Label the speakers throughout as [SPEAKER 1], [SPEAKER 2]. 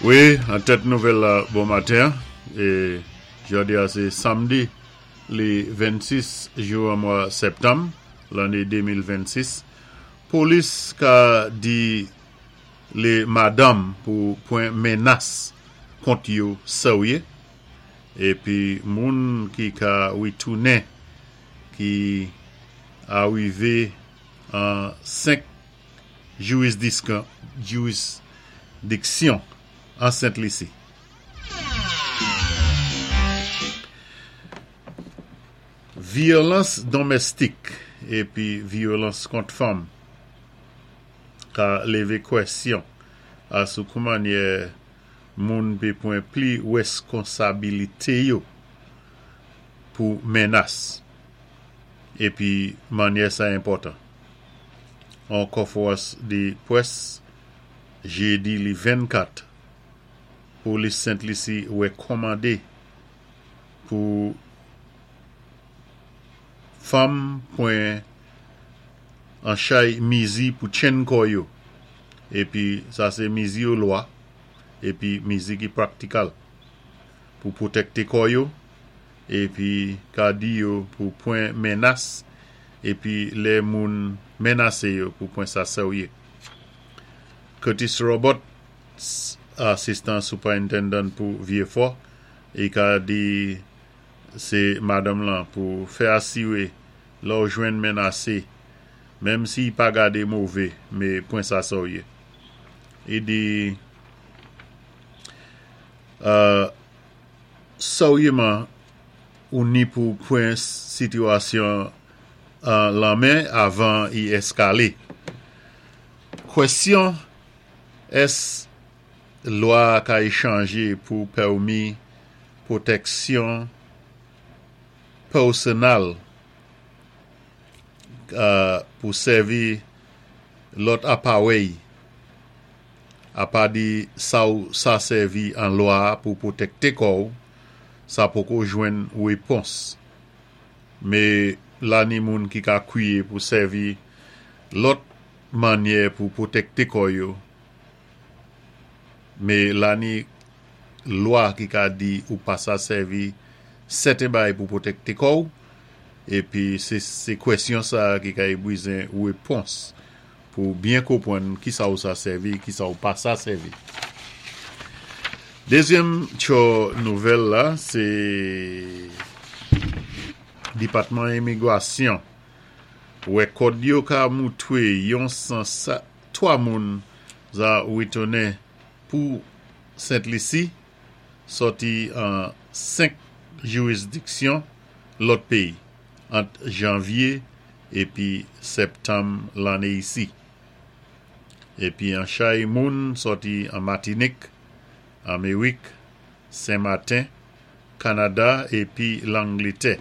[SPEAKER 1] Wi, an tèt nouvèl la bon maten an, e jodi a sé samdi li 26 jou an mwa sèptanm lanné 2026, polis ka di lé madanm pou pwan menas kont yo seryé, épi moun ki ka ritounen ki arivé an 5 jirisdiksyon an Sent Lisi. Vyolans donmèstik epi vyolans kont fanm ka leve kwèsyon a sou koumannyè moun pe pwan pli reskonsabilite yo pou menas epi mannyè sa enpòtan. An konferans de près jedi li 24, polis Sent Lisi rekòmande pou fanm pwan an chay mizi pou tchenn kò yo epi sa se mizi yo lwa epi mizi ki praktikal pou pwotèkte kò yo epi ka di yo pou pwan menas epi lè moun menase yo pou pwan sa serye. Curtis Roberts, asistan superintendent pou Vieux Fort, i ka di se madanm lan pou fè asire lè w jwenn menase, menm si i pa gade move, me pwan sa serye. I di, Seryeman ou ni pou pwan sitiyasyon an lan men avan i eskale. Kwesyon ès lwa ka y chanje pou pèmi pwotèksyon pèsonal pou sèvi lòt aparèy Apa de sa w sa sèvi an lwa a pou pwotèkte kò w, sa poko jwenn repons. Me la ni moun ki ka kwiye pou sèvi lòt mannyè pou pwotèkte kò yo. Me la ni lwa ki ka di ou pa sa sèvi sèten bagay pou pwotèkte kò w, epi se se kwèsyon sa ki ka ebwizen repons Pou w byen konprann ki sa ou sa sèvi, ki sa ou pa sa sèvi. Dezyèm tchò nouvèl la se Depatman Imigrasyon wè kòd yo ka moutwe yon 103 moun za retounen pou Sent Lisi sòti an 5 jirisdiksyon lòt peyi. ant janvye epi sèptanm lanne isi. Epi an chay moun sòti an Matinik, Amerik, Sen Maten, Kanada epi Langletè.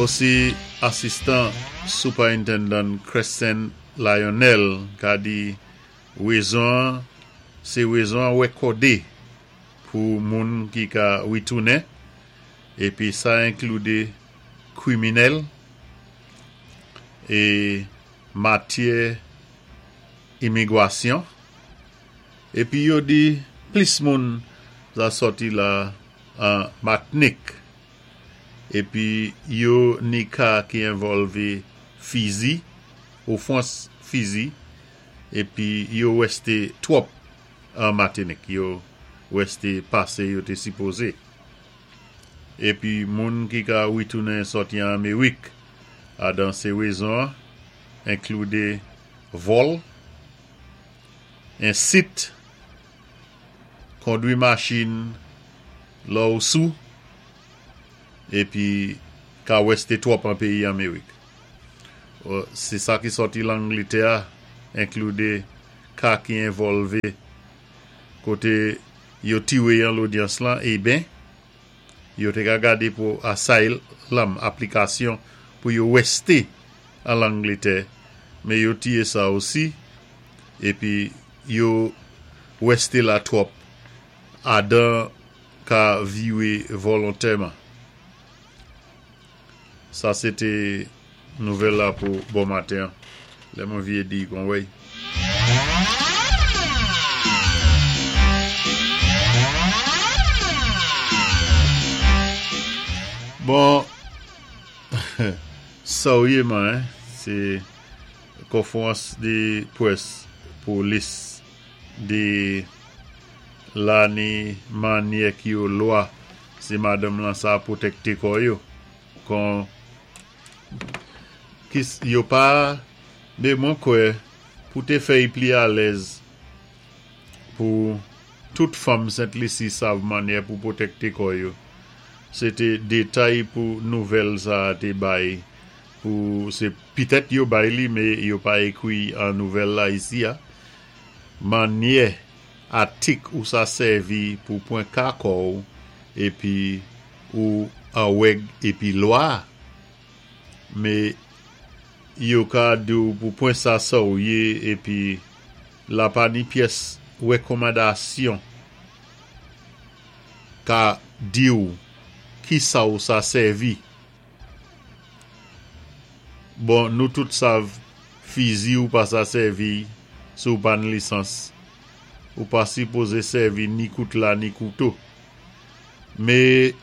[SPEAKER 1] Osi asistan Superintendent Crescent Lionel ka di rezon an se rezon an wèkòde pou moun ki ka ritounen, epi sa enklude kriminèl e matyè imigwasyon, epi yo di plis moun za sòti la an Matnik, epi yo ni ka ki envòlve fizi, ofwans fizi, epi yo wèste twòp. An Matinik yo reste pase yo te sipoze. Epi moun ki ka ritounen sòti an Amerik adan se rezon an enklude vòl, ensit, kondwi machin lò ou sou, epi ka reste twòp an peyi Amerik. Se sa ki sòti Langletè a enklude ka ki envòlve kote yo tire yan lodyans lan eben yo te ka gade pou asylum aplikasyon pou yo reste an Langletè men yo tiye sa osi epi yo reste la twòp adan ka vire volontèman. Sa se te nouvèl la pou bon maten an. Lè mwen vye di kon wey. Bon, sa-ou yé man, hein, sé konfwérans dé pwès polis di la ni mannyè ki yo lwa sé madanm lan sa pwotèkté kò yo. Kon kis yo pa mé mwen kwè pou té fè-y pli alèz pou tout fanm Sent Lisi sav mannyè pou pwotèkté kò yo. Sé té détay pou nouvèl sa té bay pou sé pitèt yo bay li mé yo pa ékwi an nouvèl la isi a. Mannyè atik ou sa sèvi pou pwan ka kò-w épi ou an wèg épi lwa. Mé yo ka di-w pou pwan sa sa-ou yé épi la pa ni pyès wékonmandasyon ka di-w ki sa ou sa sèvi. Bon, nou tout sav fizi ou pa sa sèvi si ou pa ni lisans. Ou pa sipozé sèvi ni koutla ni kouto. Mé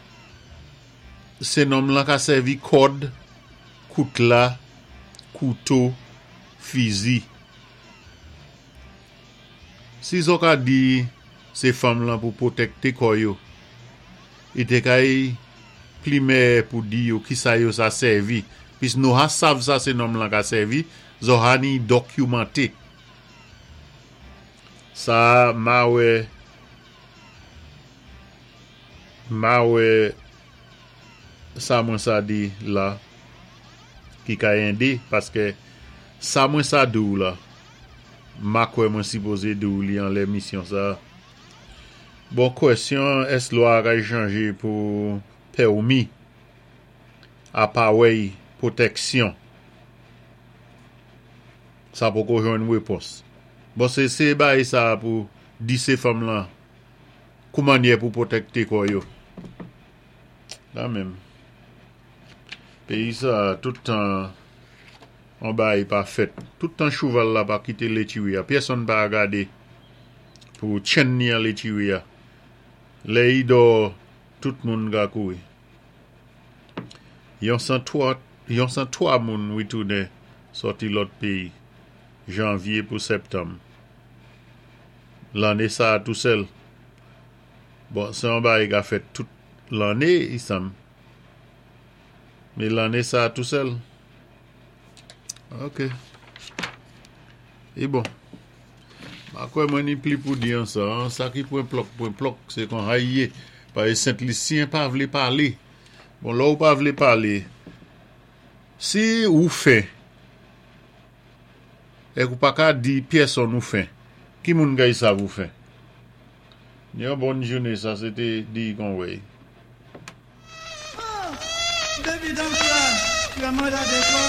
[SPEAKER 1] sé nonm lan ka sèvi kòd, koutla, kouto, fizi. Si zo ka di sé fanm lan pou pwotèkté kò yo, i té kay pli mèyè pou di yo ki sa yo sa sèvi. Pis nou ha sav sa sé nonm lan ka sèvi, zo ha ni dokimanté. Sa ma wè ma wè sa mwen sa di la ki ka édé paské sa mwen sa di-w la ma kwè mwen sipozé di-w li an lémisyon sa. Bon kwèsyon, ès lwa kay chanjé pou pèmi aparèy pwotèksyon? Sa poko jwenn wépons. Bon sé sé bay sa pou di sé fanm lan kou mannyè pou pwotèkté kò yo. La menm. Péyi sa tout tan an bay pa fèt. Tout tan chouval la pa kité létiwi a. Pyèsonn pa gadé pou tchenn ni an létiwi a. Lè i dò tout moun ka kouri. Yon 103, yon 103 moun witounen sòti lòt péyi. Janvyé pou septanm. Lanné sa tou sèl. Bon, sé an bagay ka fèt tout lanné, i sanm. Mé lanné sa tou sèl. Ok. I bon. Ma kwè mwen ni pli pou di an sa. Sa ki pwen plòk, pwen plòk, sé kon hay yé. Paé Sent Lisyen pa vlé palé. Bon, lò ou pa vlé palé, si ou fen, èk ou pa ka di pyèsonn ou fen, ki moun kay sav ou fen? Yon bon jouné, sa sé té di kon wèy.
[SPEAKER 2] Baby, don't cry. Tu as mal à décor.